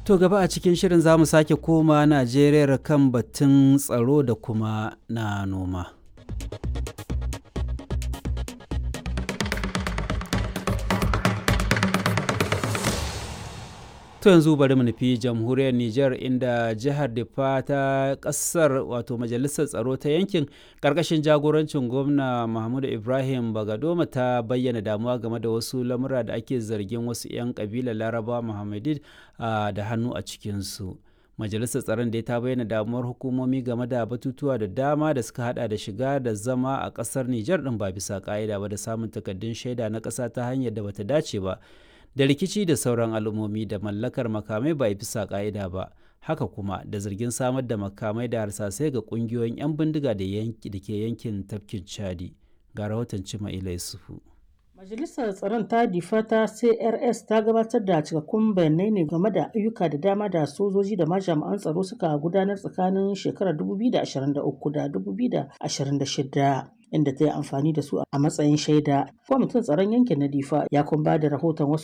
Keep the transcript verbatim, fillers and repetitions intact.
To gaba a cikin shirin za mu sake koma Najeriya kan batun tsaro da kuma na noma. To yanzu bari mu nufi jamhuriyar Nijar, inda jihar Diffa ta kasar, wato majalisar tsaro ta yankin karkashin jagorancin gwamna Mahmudu Ibrahim Bagadoma, ta bayyana damuwa game da wasu lamura da ake zargin wasu 'yan kabilar Laraba Muhammadid da hannu a cikinsu. Majalisar tsaron da ta bayyana damuwar hukumomi game da batutuwa da dama da suka hada da shiga da zama a kasar Nijar din ba bisa ka'ida ba, da samun takardun shaida na kasa ta hanyar da bata dace ba, da rikici da sauran al'ummomi, da mallakar makamai ba bisa ka'ida ba, haka kuma da zargin samar da makamai da harsasai ga kungiyoyin 'yan bindiga da ke yankin tafkin Chadi. Ga rahoton Cima Ila Yusufu. Majalisar Tsaron ta Difa ta C R S ta gabatar da cikakkun bayanai ne game da ayyuka da dama da sojoji da ma jami'an tsaro suka gudanar tsakanin shekarar dubu biyu da ashirin da uku da dubu biyu da ashirin da shida, inda ta yi amfani da su a matsayin shaida. Kwamitin tsaron yankin na Difa ya kuma ba da rahoton wasu